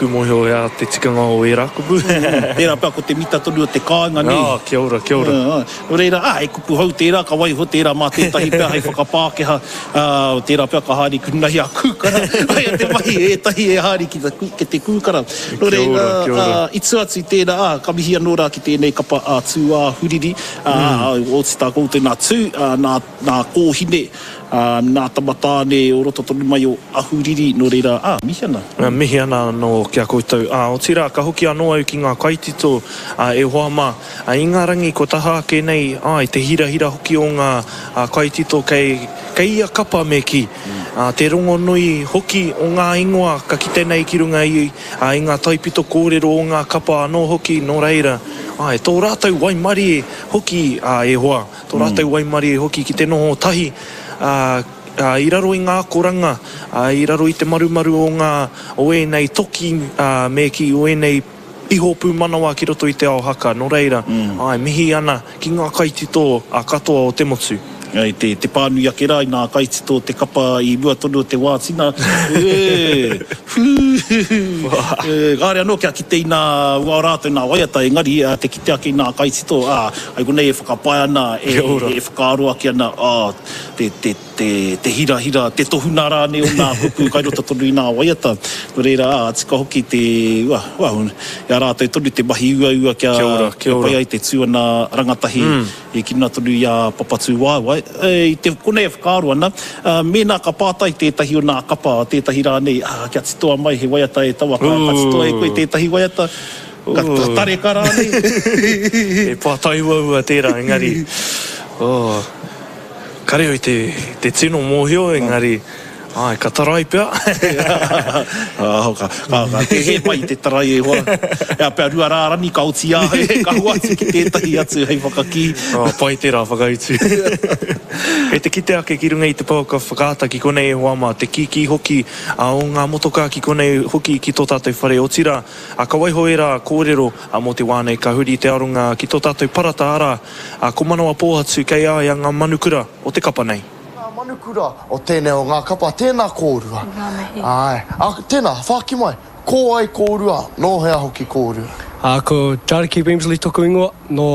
Ku mōhio he aha te tikanga o ērā kupu. Tērā pea ko te mita tonu o te kāinga, nē? Ā, kia ora, kia ora. Nō reira, ā, he kupu hou tērā, ka waiho tērā mā tētahi pea hei whakapākehā, ā, tērā pea ka haere ki runga i a Kūkara, aia te mahi e ētahi e haere ki te, ki te Kūkara. Nō reira, ā, i tua atu i tērā, ā, ka mihi anō rā ki tēnei kapa a Tūāhuriri, ā, oti tā koutou nā Tū, ā, nā, nā Kōhine, Ā, nā tama tāne o roto tonu mai o Ahuriri, nō reira, ā, mihi ana. Mihi ana anō ki a koutou. Ā, otirā, ka hoki anō au ki ngā kaitito, ā, e hoa mā, ā, i ngā rangi kua taha ake nei, āe, te hirahira hoki o ngā, ā, kaitito kei, kei ia kapa me kī. Ā, te rongonui hoki o ngā ingoa ka kite nei ki runga i, ā, i ngā taipito kōrero o ngā kapa anō hoki, nō reira, āe, tō rātou waimarie hoki, ā, e hoa. Tō rātou waimarie hoki ki te noho tahi, ā, ā, i raro i ngā akoranga, ā, i raro i te marumaru o ngā, o ēnei toki, ā, me kī, o ēnei iho pūmanawa ki roto i te ao haka. Nō reira, āe, mihi ana ki ngā kaitito katoa o te motu. I te, te pānui ake rā i ngā kaitito o te kapa i mua tonu o te wā tina, ē, whū, ē, kāore anō kia kite i nā, ua rātou nā waiata, engari, te kite ake i nā kaitito, ā, Hai konei e whakapae ana, e, e whakaaro ake ana, ā, te, te, te, te hirahira, te tohuna rānei o nā kupu kai roto tonu i nā waiata. Nō reira, ā, tika hoki te, ua, ua, i a rātou tonu te mahi uaua kia, Kia ora, kia kia ora. pai ai te tū ana rangatahi e ki runga tonu i a Papatūwaewae. E, i te konei e whakaaro ana, ā, mēnā ka pātai tētahi o nā kapa, tētahi rānei, ā, kia titoa mai he waiata e taua, ka, ka titoa e koe tētahi waiata, Ka tareka rānei? He pātai uaua tērā, engari, oh, kare au i te, te tino mōhio, engari, āe, ka tarai pea. Oh, ka, ka, ka, te hē pai te tarai e hoa. Ea pea rua rārani ka oti ahau, ka hoatu ki tētahi atu hei whakakī. Oh, pai tērā whakautu. Kei te kite ake ki runga i te pouaka whakaata ki konei e hoa mā, te kīkī hoki o ngā motokā ki konei hoki ki tō tātou whare, otirā, Ā, ka waiho ērā kōrero mō te wā nei, ka huri te aronga ki tō tātou parata, arā, ko Manawa Pōhatu kei a ia ngā manukura o te kapa nei. Ngā manukura o tēnei o ngā kapa, tēnā kōrua. Ngā mihi. Āe. Ā, tēnā, whāki mai, ko wai kōrua, nō hea hoki kōrua? Ā, ko Jariki Wemsley toku ingoa, nō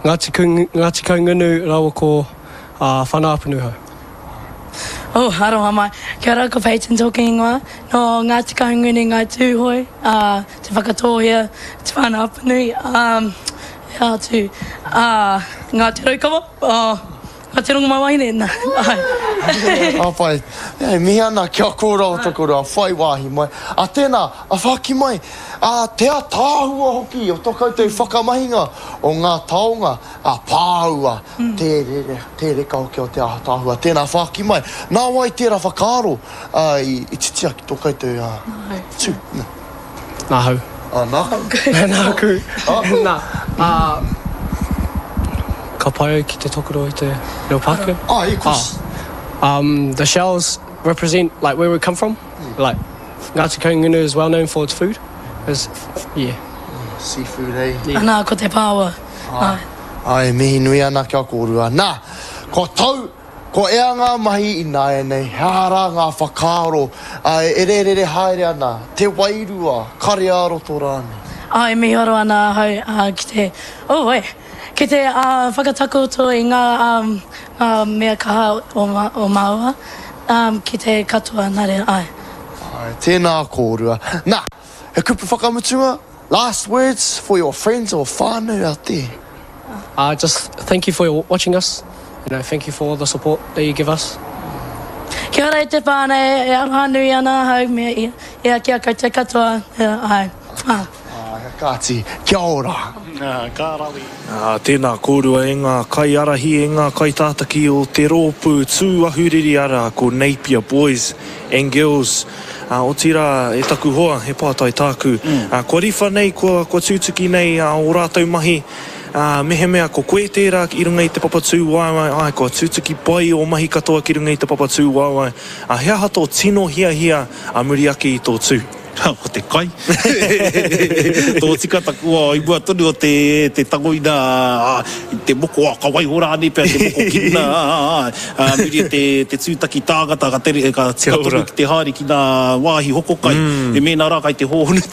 Ngāti, Ngāti Kaungunu rāua ko Whana-Apunuhau. Oh, aroha mai. Kia ora, ko Peyton tōku ingoa. Nō Ngāti Kahungunu, Ngāi Tūhoe, ā, Te Whakatōhea, Te Whānau-a-Apanui, ā, he aha atu, ā, Ngāti Raukawa, ā, Ngāti Rongomaiwahine, nā, āe. Ka pai. E mihi ana ki a kōrua o Tokoroa, whai wāhi mai. A tēnā, a whāki mai, ā, te ataahua hoki o tō koutou whakamahinga o ngā taonga a pāua, tē rere, tē reka hoki o te ātaahua. Tēnā whāki mai, nā wai tērā whakaaro i titia ki tō koutou tū? Nāhau. Ā, nāku. Nāku. Nā, ā, ka pai au ki te tokoro i te reo Pākehā. Ā, of course. Um, the shells represent like where we come from, like Ngāti Kahungunu is well known for its food, is, yeah. Seafood, eh? Anā, ko te pāua. Āe. Āe, e mihi nui ana ki a kōrua. Nā, kua tau, kua ea ngā mahi ināianei, he aha rā ngā whakaaro, āe, e rērere haere ana, te wairua, kare ā-roto rānei? Āe, e miharo ana ahau, ā, ki te, oh, e, ki te, ā, whakatakoto i ngā, ā, ngā mea kaha o, o māua, ā, ki te katoa, nā reira, āe. Āe, tēnā kōrua. Nā, he kupu whakamutunga? Last words for your friends or whānau out there? Uh, just thank you for watching us, you know, thank you for all the support that you give us. Kia ora e te whānau, e aroha nui ana ahau me ia, ia ki a koutou katoa, āe. Āe, kāti, kia ora. Ka rawe. Ā, tēnā kōrua e ngā kaiārahi, e ngā kaitātaki o te rōpū tū ahuriri arā ko Napier Boys and Girls. Ā, otirā, e taku hoa, he pātai tāku. Ā, kua riwha nei, kua, kua tūtuki nei ā, ō rātou mahi, ā, mehemea ko koe tērā i runga i te papa tūwaewae, āe, kua tūtuki pai ō mahi katoa ki runga i te papa tūwaewae, ā, he aha tō tino hiahia ā muri ake i tō tū? Ko te kai. Tōtika taku wā i mua tonu o te, te tango ina, i te moko, ka waiho rānei pea te moko ki runga, ā, muri o te, te tūtaki tāngata ka tere, ka tika tonu ki te haere ki ngā wāhi hoko kai. E mēnā rā kai te hōhonu te.